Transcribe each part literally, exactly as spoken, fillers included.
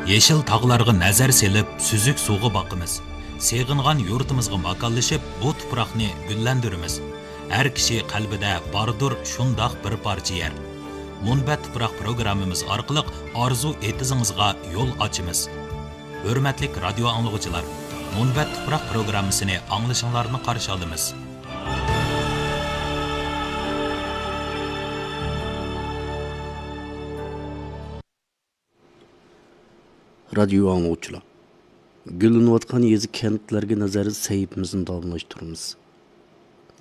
يېشىل تاغلارغا نەزەر سېلىپ، سۈزۈك سۇغا باقىمىز. سېغىنغان يۇرتىمىزغا ماكانلىشىپ، بۇ تۇپراقنى گۈللەندۈرىمىز. ھەر كىشى قەلبىدە باردۇر شۇنداق بىر پارچە يەر. مۇنبەت تۇپراق پروگراممىمىز ئارقىلىق ئارزۇ ئېتىزىڭىزغا يول ئاچىمىز. ھۆرمەتلىك رادىيو ئاڭلىغۇچىلار، مۇنبەت تۇپراق پروگراممىسىنى ئاڭلىشىڭلارنى قارشى ئالىمىز. رادىيو ئاڭلىغۇچىلار، گۈللىنىۋاتقان يېزا، كەنتلەرگە نەزەر سەھىپىمىزنى داۋاملاشتۇرىمىز.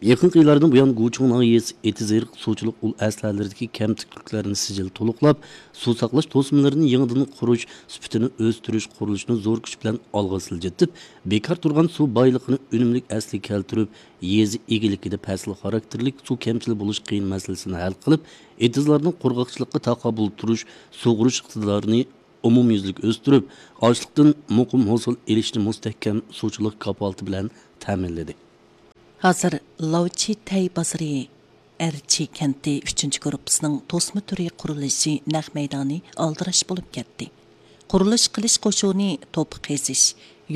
يېقىنقى يىللاردىن بۇيان، گۇچۇڭ ناھىيەسى ئېتىز ئېرىق سۇچىلىق ئۇل ئەسلىھەلىرىدىكى كەمتۈكلۈكلەرنى سىجىل تولۇقلاپ، سۇ ساقلاش توسمىلىرىنى يېڭىدىن قۇرۇش، سۈپىتىنى ئۆستۈرۈش قۇرۇلۇشىنى زور كۈچ بىلەن ئالغا سىلجىتىپ، بىكار تۇرغان سۇ بايلىقىنى ئۈنۈملۈك ئەسلىگە كەلتۈرۈپ، يېزا ئىگىلىكىدە پەسىل خاراكتېرلىك سۇ كەمچىل بولۇش قىيىن مەسىلىسىنى ھەل قىلىپ، ئېتىزلارنىڭ قۇرغاقچىلىققا تاقابىل تۇرۇش، سۇغۇرۇش ئىقتىدارىنى ئومۇميۈزلۈك ئۆستۈرۈپ، ئاشلىقتىن مۇقىم ھوسۇل ئېلىشنى مۇستەھكەم سۇچىلىق كاپالىتى بىلەن تەمىنلىدى. ھازىر لاۋچىتەي بازىرى ئەرچى كەنتى ئۈچىنچى گۇرۇپپىسىنىڭ توسما تۈرى قۇرۇلۇشى نەق مەيدانى ئالدىراش بولۇپ كەتتى. قۇرۇلۇش قىلىش قوشۇنى توپا قېزىش،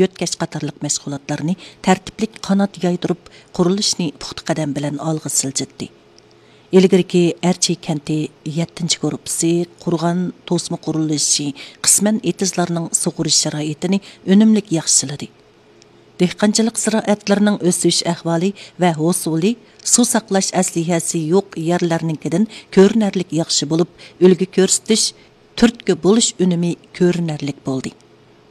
يۆتكەش قاتارلىق مەشغۇلاتلارنى تەرتىپلىك قانات يايدۇرۇپ، قۇرۇلۇشنى پۇختا قەدەم بىلەن ئالغا سىلجىتتى. ئىلگىرىكى ئەرچى كەنتى يەتتىنچى گۇرۇپپىسى قۇرغان توسما قۇرۇلۇشى قىسمەن ئېتىزلارنىڭ سۇغىرىش شارائىتىنى ئۈنۈملۈك ياخشىلىدى. دېھقانچىلىق زىرائەتلىرىنىڭ ئۆسۈش ئەھۋالى ۋە ھوسۇلى سۇ ساقلاش ئەسلىھەسى يوق يەرلەرنىڭكىدىن كۆرۈنەرلىك ياخشى بولۇپ، ئۈلگە كۆرسىتىش، تۈرتكە بولۇش ئۈنۈمى كۆرۈنەرلىك بولدى.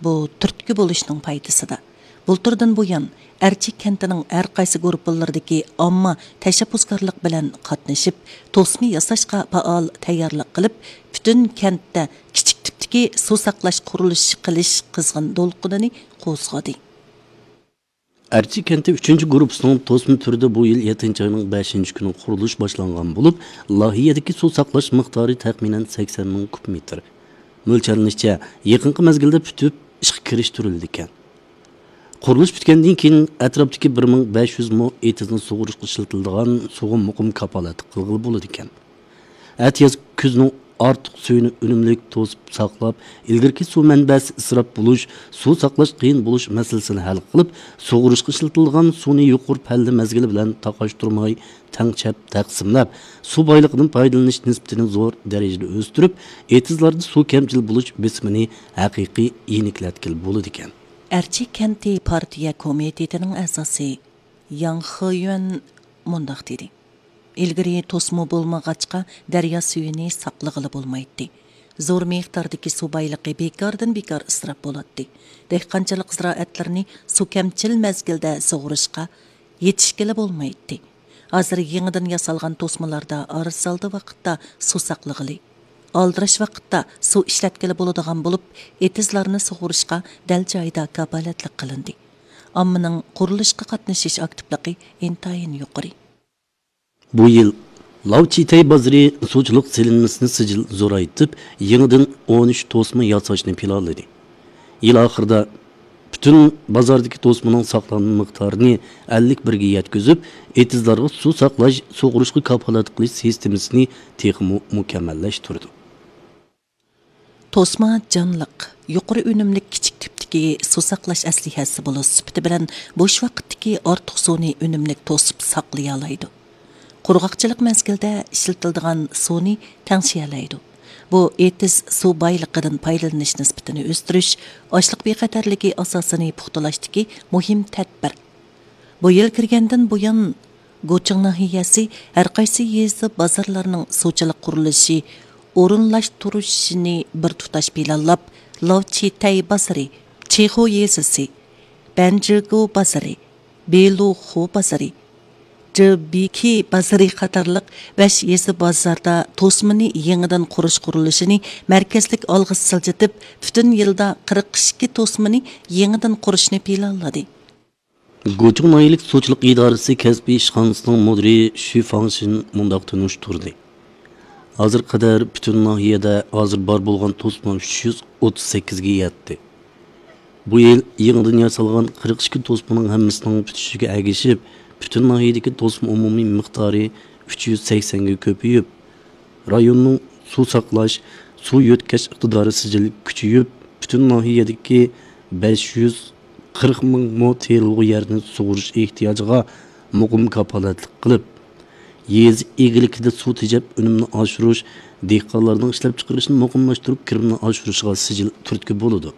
بۇ تۈرتكە بولۇشنىڭ پايدىسىدا، بۇلتۇردىن بۇيان، ئەرچى كەنتىنىڭ ھەر قايسى گۇرۇپپىلىرىدىكى ئامما تەشەببۇسكارلىق بىلەن قاتنىشىپ، توسما ياساشقا پائال تەييارلىق قىلىپ، پۈتۈن كەنتتە كىچىك تىپتىكى سۇ ساقلاش قۇرۇلۇشى قىلىش قىزغىن دولقۇنىنى قوزغىدى. ئەرچى كەنتى ئۈچىنچى گۇرۇپپىسىنىڭ توسما تۈرىدە بۇ يىل يەتتىنچى ئاينىڭ بەشىنچى كۈنى قۇرۇلۇش باشلانغان بولۇپ، لايىھەدىكى سۇ ساقلاش مىقدارى تەخمىنەن سەكسەن مىڭ كۇب مېتىر. مۆلچەرلىنىشىچە، يېقىنقى مەزگىلدە پۈتۈپ ئىشقا كىرىشتۈرۈلىدىكەن. قۇرۇلۇش پۈتكەندىن كېيىن، ئەتراپتىكى بىر مىڭ بەش يۈز مو ئېتىزنى سۇغۇرۇشقا ئىشلىتىلىدىغان سۇغا مۇقىم كاپالەتلىك قىلغىلى بولىدىكەن. ئەتىياز كۈزنىڭ ئارتۇق سۈيىنى ئۈنۈملۈك توسۇپ ساقلاپ، ئىلگىرىكى سۇ مەنبەسى ئىسراپ بولۇش، سۇ ساقلاش قىيىن بولۇش مەسىلىسىنى ھەل قىلىپ، سۇغۇرۇشقا ئىشلىتىلىدىغان سۇنى يۇقىرى پەللە مەزگىلى بىلەن تاقاشتۇرماي، تەڭشەپ تەقسىملەپ، سۇ بايلىقىدىن پايدىلىنىش نىسبىتىنى زور دەرىجىدە ئۆستۈرۈپ، ئېتىزلاردا سۇ كەمچىل بولۇش بېسىمىنى ھەقىقىي يېنىكلەتكىلى بولىدىكەن. ئەرچى كەنتى پارتىيە كومىتېتىنىڭ ئەزاسى ياڭ خېيۈەن مۇنداق دېدى: ئىلگىرى توسما بولمىغاچقا، دەريا سۈيىنى ساقلىغىلى بولمايتتى. زور مىقداردىكى سۇ بايلىقى بىكاردىن بىكار ئىسراپ بولاتتى. دېھقانچىلىق زىرائەتلىرىنى سۇ كەمچىل مەزگىلدە سۇغۇرۇشقا يېتىشكىلى بولمايتتى. ھازىر يېڭىدىن ياسالغان توسمىلاردا ئارىسالدى ۋاقىتتا سۇ ساقلىغىلى، ئالدىراش ۋاقىتتا سۇ ئىشلەتكىلى بولىدىغان بولۇپ، ئېتىزلارنى سۇغۇرۇشقا دەل جايىدا كاپالەتلىك قىلىندى. ئاممىنىڭ قۇرۇلۇشقا قاتنىشىش ئاكتىپلىقى ئىنتايىن يۇقىرى. بۇ يىل لاۋچىتەي بازىرى سۇچىلىق سېلىنمىسىنى سىجىل زورايتىپ، يېڭىدىن ئون ئۈچ توسما ياساشنى پىلانلىدى. يىل ئاخىرىدا پۈتۈن بازاردىكى توسمىنىڭ ساقلانما مىقدارىنى ئەللىك بىرگە يەتكۈزۈپ، ئېتىزلارغا سۇ ساقلاش، سۇغۇرۇشقا كاپالەتلىك قىلىش سىستېمىسىنى تېخىمۇ مۇكەممەللەشتۈردى. توسما جانلىق، يۇقىرى ئۈنۈملۈك كىچىك تىپتىكى سۇ ساقلاش ئەسلىھەسى بولۇش سۈپىتى بىلەن بوش ۋاقىتتىكى ئارتۇق سۇنى ئۈنۈملۈك توسۇپ ساقلىيالايدۇ. قۇرغاقچىلىق مەزگىلىدە ئىشلىتىلىدىغان سۇنى تەڭشىيەلەيدۇ. بۇ ئېتىز سۇ بايلىقىدىن پايدىلىنىش نىسبىتىنى ئۆستۈرۈش، ئاشلىق بىخەتەرلىكى ئاساسىنى پۇختىلاشتىكى مۇھىم تەدبىر. بۇ يىل كىرگەندىن بۇيان، گۇچىڭ ناھىيەسى ھەر قايسى يېزا بازارلارنىڭ سۇچىلىق قۇرۇلۇشى ئورۇنلاشتۇرۇشىنى بىر تۇتاش پىلانلاپ، لاۋچىتەي بازىرى، چىخۇ يېزىسى، بەنجىگۇ بازىرى، بېلۇخۇ بازىرى، جىبىكى بازىرى قاتارلىق بەش يېزا بازاردا توسمىنى يېڭىدىن قۇرۇش قۇرۇلۇشىنى مەركەزلىك ئالغا سىلجىتىپ، پۈتۈن يىلدا قىرىق ئىككى توسمىنى يېڭىدىن قۇرۇشنى پىلانلىدى. گۇچۇڭ ناھىيەلىك سۇچىلىق ئىدارىسى كەسپىي ئىشخانىسىنىڭ مۇدىرى شۈ فاڭشىن مۇنداق تونۇشتۇردى: ھازىرغا قەدەر پۈتۈن ناھىيەدە ھازىر بار بولغان توسما ئۈچ يۈز ئوتتۇز سەككىزگە يەتتى. بۇ يىل يېڭىدىن ياسالغان قىرىق ئىككى توسمىنىڭ ھەممىسىنىڭ پۈتۈشىگە ئەگىشىپ، پۈتۈن ناھىيەدىكى توسما ئومۇمىي مىقدارى ئۈچ يۈز سەكسەنگە كۆپىيىپ، رايوننىڭ سۇ ساقلاش، سۇ يۆتكەش ئىقتىدارى سىجىل كۈچىيىپ، پۈتۈن ناھىيەدىكى بەش يۈز قىرىق مىڭ مو تېرىلغۇ يەرنى سۇغىرىش ئېھتىياجىغا مۇقىم كاپالەتلىك قىلىپ، يېزا ئىگىلىكىدە سۇ تېجەپ ئۈنۈمنى ئاشۇرۇش، دېھقانلارنىڭ ئىشلەپچىقىرىشىنى مۇقىملاشتۇرۇپ، كىرىمنى ئاشۇرۇشىغا سىجىل تۈرتكە بولىدۇ.